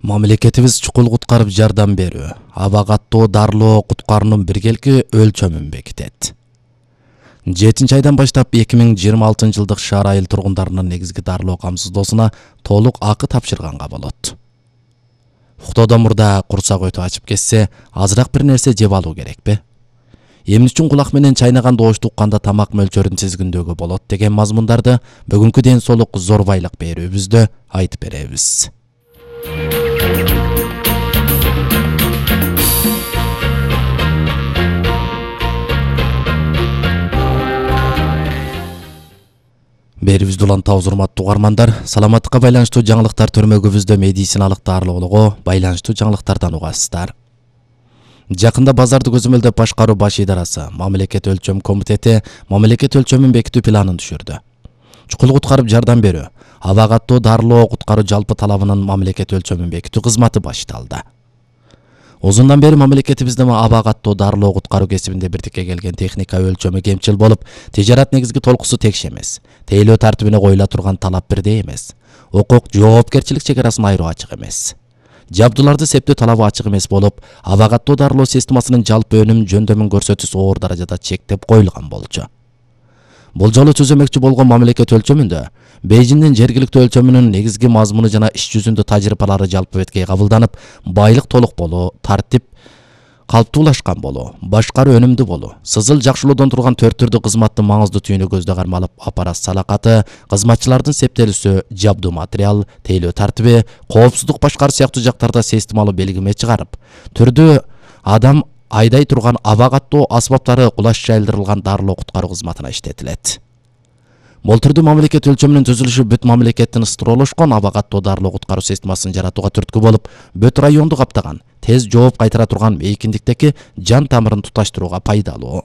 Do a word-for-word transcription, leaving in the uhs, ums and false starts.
Мамлекетибиз чукул куткарып жардам берүү, аба каттоо дарылоо куткаруунун биргелки өлчөмүн бекитет. жетинчи айдан баштап эки миң жыйырма алтынчы жылдык шаар айыл тургундарынын негизги дарылоо камсыздоосуна толук акы тапшырганга болот. Уктоодон мурда курсак өтүп ачып кетсе, азыраак бир нерсе жеп алуу керекпи? Эмне үчүн кулак менен чайнаган добушту укканда тамак мөлчөрүн сезгиндөөгө болот деген мазмундарды бүгүнкү ден соолук зор байлык берүүбүздө айтып беребиз. Берибизди улантабыз, урматтуу угармандар. Саламаттыкка байланыштуу жаңылыктар төрмөгүбүздө медициналык дарылоолого байланыштуу жаңылыктардан угасыздар. Жакында базарды көзөмөлдөп башкаруу баш идарасы Мамлекет өлчөм комитети мамлекет өлчөмүн бекитүү планын түшүрдү. Чукул куткарып жардам берүү, аба каттоо дарылоо куткаруу жалпы талабынын мамлекет өлчөмүн бекитүү кызматы башталды. Узундан бери мамлекетибиздин аба каттоо дарылоо куткаруу кесибинде бирдикке келген техника өлчөмү кемчил болуп, тижарат негизги толкусу текш эмес. Тейлөө тартибине коюла турган талап бирдей эмес. Укук жоопкерчилик чегарасын айыруу ачык эмес. Жабдууларды септөө талабы ачык эмес болуп, аба каттоо дарылоо системасынын жалпы өнүм жөндөмүн көрсөтүүсү оор даражада чектеп коюлган болчу. Бул жолу түзөмөкчү болгон мамлекет өлчөмүндө Бейжиңдин жергиликтүү өлчөмүнүн негизги мазмуну жана иш жүзүндө тажрыйбалары жалпы бетке кабылданып, байлык толук болуу, тартип калыптуулашкан болуу, башкаруу өнүмдүү болуу, сызыл жакшылоодон турган төрт түрдүү кызматтын маңыздуу түйүнү көздө кармалып, аппарат салакаты, кызматчылардын септелүүсү, жабдуу материал, тейлөө тартиби, коопсуздук башкаруу сыяктуу жактарда системалуу белгиме чыгарып, түрдүү адам айдай турган аба каттоо асбаптары кулаш жайылдырылган дарылоо куткаруу кызматына иштетилет. Болтурду мамлекет өлчөмүнүн түзүлүшү бүт мамлекеттин ыстырылышкан аба каттоо дарылоо куткаруу системасын жаратууга түрткү болуп, бүт районду каптаган, тез жооп кайтара турган мейкиндиктеги жан тамырын туташтырууга пайдалуу.